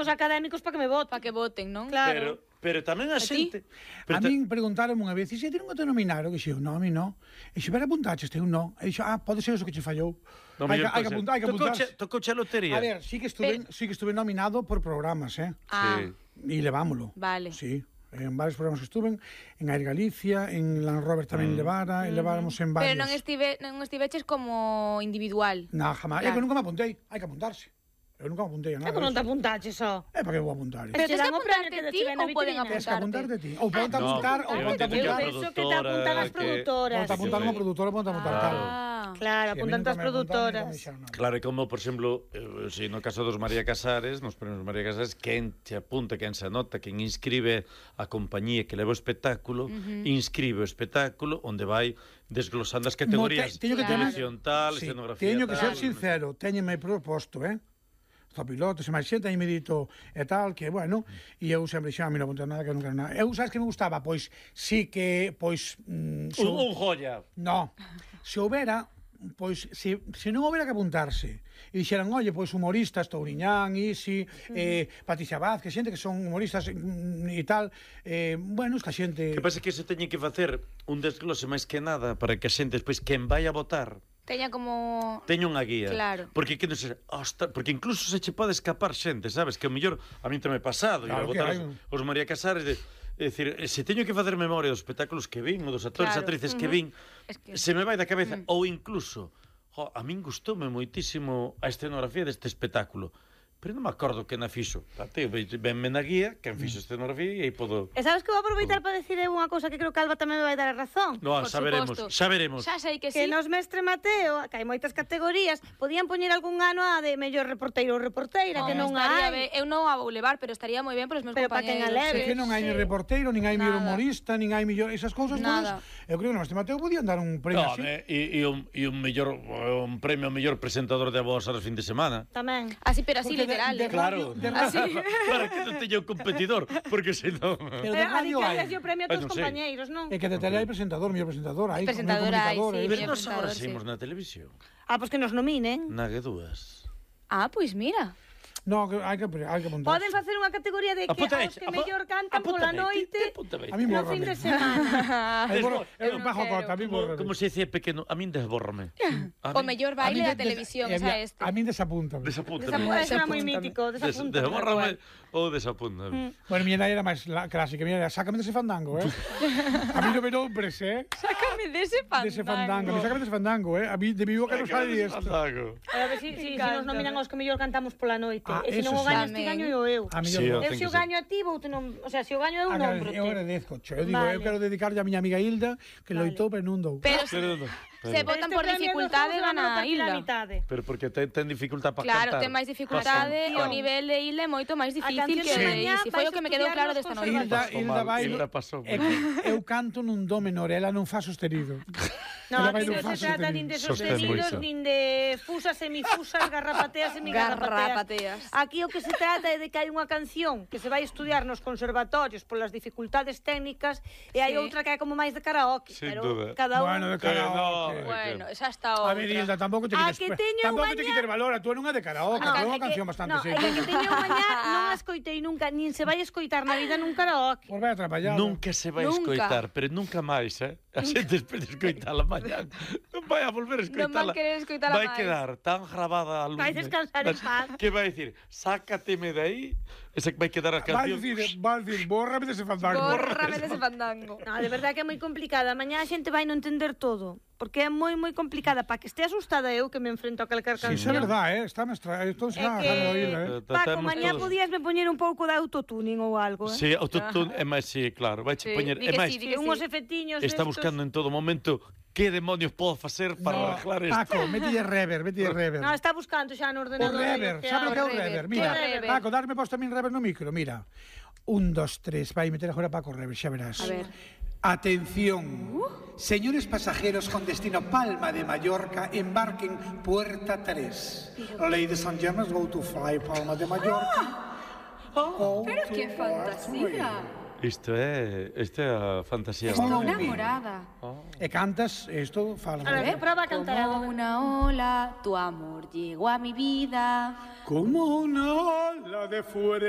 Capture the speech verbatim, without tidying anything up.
os académicos para que me voten. Para que voten, non? Claro. Pero, pero tamén a xente... A min preguntaron unha vez, e se ti non te nominaron? Que xe, non, a mí non. E xe, pero apuntaches, te un non. E dixo, ah, pode ser eso que che fallou. No, hai, que, hai, que apuntar, hai que apuntarse. Tocouche a lotería. A ver, sí que estuve, sí que estuve nominado por programas, eh? Ah. Sí. E levámolo. Vale. Sí. En varios programas que estuven, en Air Galicia, en Land Rover tamén mm. levara, e leváramos en varios. Pero non estive, non estiveches como individual. Na, jamás. Claro. É que nunca me apuntei, hai que apuntarse. Eu nunca me apuntei a nada. É que non te apuntaches, só. É para que vou apuntar. Pero tens que apuntarte ti ou poden apuntarte? Tens que apuntarte ti. Ou poden apuntar, ou poden apuntar. Eu penso que te apuntan as produtoras. Poden apuntar unha produtora, poden apuntar tal. Claro, apuntan as produtoras. Claro, e como, por exemplo, eh, si no caso dos María Casares, nos premios María Casares, quen te apunta, quen se anota, quen inscribe a compañía que leva o espectáculo, uh-huh. inscribe o espectáculo onde vai desglosando as categorías. No, te, teño que tener, televisión tal, sí, escenografía teño tal. que ser sincero, teñeme proposto, eh? Zopilotes e máis xente, aí me dito e tal, que, bueno, e eu sempre xa, a mí non apuntei nada, que nunca nada. Eu, sabes que me gustaba? Pois, sí que, pois... Mm, so, un, un joya. No, se houbera, pois, se, se non houbera que apuntarse, e dixeran, oye, pois, humoristas, Touriñán, Isi, uh-huh. eh, Patricia Vázquez, xente que son humoristas mm, e tal, eh, bueno, es que a xente... Que pasa que se teñe que facer un desglose máis que nada para que a xente, despois, quen vai a votar, teña como... teña unha guía. Claro. Porque que non se... Ostras, porque incluso se che pode escapar xente, sabes? Que o mellor, a mí tamén pasado, claro, ir a votar os, os María Casares, de, é dicir, se teño que facer memoria dos espectáculos que vin, ou dos actores e claro. atrices uh-huh. que vin, es que... se me vai da cabeza, uh-huh. ou incluso, jo, a min gustoume moitísimo a escenografía deste espectáculo. Pero non me acordo que na fixo. Tate, venme na guía, quen fixo escenografía e aí podo... E sabes que vou aproveitar para decir unha cousa que creo que Alba tamén me vai dar a razón? No, xa veremos, xa veremos. Xa sei que sí. Que sí. nos Mestre Mateo, que hai moitas categorías, podían poñer algún ano a de mellor reporteiro ou reporteira, no, que non hai. Be... Eu non a vou levar, pero estaría moi ben para os meus pero compañeros. Pero para quen a leve. É que non hai sí. ni reporteiro, nin hai mellor humorista, nin hai mellor... Esas cousas todas. Eu creo que no Mestre Mateo podían dar un premio no, así. E un, un mellor un premio ao mellor presentador de voz aos fin de semana. Tamén. Así, pero así porque literal. De, de claro. De así. Para que non teña un competidor, porque se non... Pero de radio hai. Pero o premio a todos os compañeiros, non? É que de tele hai presentador, mellor presentador, hai presentador hai, sí. Pero nos agora saímos na televisión. Ah, pois que nos nominen. Na G dúas. Ah, pois mira. No, hai que hai que apuntar. Poden facer unha categoría de que os que mellor cantan pola noite no fin de semana. Eu bajo cota, a mí borra. Como se dice pequeno, a min desbórrame. O mellor baile da televisión, esa este. A min desapúntame. Desapúntame. Eso era moi mítico, desapúntame. Desbórrame ou desapúntame. Bueno, mi era máis clásica, mi era sácame dese fandango, eh. A mí non me nombres, eh. Sácame dese fandango. Dese fandango, sácame dese fandango, eh. A mí de vivo que non sabe isto. A ver si nos nominan os que mellor cantamos pola noite. E se non o gañas ti, gaño eu. Eu se o gaño a ti, vou te non... O sea, se o gaño eu, non brote. Eu agradezco, cho. Eu digo, eu quero dedicarlle a miña amiga Hilda, que loitou, pero non dou. Pero se votan por dificultade, gana a Hilda. Pero porque ten dificultad para Claro, cantar. ten máis dificultade, o nivel de Hilda é moito máis difícil que o de Isi. Foi o que me quedou claro desta noite. Hilda vai... Eu canto nun do menor, ela non fa sostenido. Non, aquí non se trata nin de sostenidos, nin de fusas, semifusas, garrapateas, semigarrapateas. Aquí o que se trata é de que hai unha canción que se vai estudiar nos conservatorios polas dificultades técnicas e hai outra que é como máis de karaoke. Pero cada un... Bueno, de karaoke. Bueno, xa está outra. A ver, Hilda, tampouco te quites... Tampouco te quites valor, a tú non é de karaoke, é unha canción bastante sencilla. Non, é que teño mañá, non a escoitei nunca, nin se vai escoitar na vida nun karaoke. Pois vai atrapallado. Nunca se vai escoitar, pero nunca máis, eh? A xente espera escoitala mañá. Non vai a volver a escoitala. Non vai querer escoitala máis. Vai quedar tan grabada a luz. Vai descansar en paz. Que vai dicir, sácateme de aí, esa que vai quedar a canción. Vai dicir, bórrame dese fandango. Bórrame dese fandango. No, de verdade que é moi complicada. Mañá a xente vai non entender todo. Porque é moi, moi complicada. Para que este asustada eu que me enfrento a calcar canción. Sí, é verdade, eh? Está mestra... Esto está é que... eh? Paco, mañá podías me poñer un pouco de autotuning ou algo, eh? Sí, autotune é máis, sí, claro. Vai che poñer... É máis, unhos efectiños está buscando en todo momento que demonios podo facer para arreglar isto. Paco, metille rever, metille rever. No, está buscando xa no ordenador. O rever, sabe o que é o rever? Mira, Paco, darme posto a min rever no micro, mira. Un, dos, tres, vai meter agora Paco rever, xa verás. A ver. Atención, uh. señores pasajeros con destino Palma de Mallorca, embarquen puerta tres. Ladies and gentlemen, go to fly Palma de Mallorca. Oh, pero que fantasía. Isto é, isto é a fantasía. Estou enamorada. Oh. E cantas, isto fala. A ver, prova a cantar. Como una ola, tu amor llegó a mi vida. Como una ola de fuera.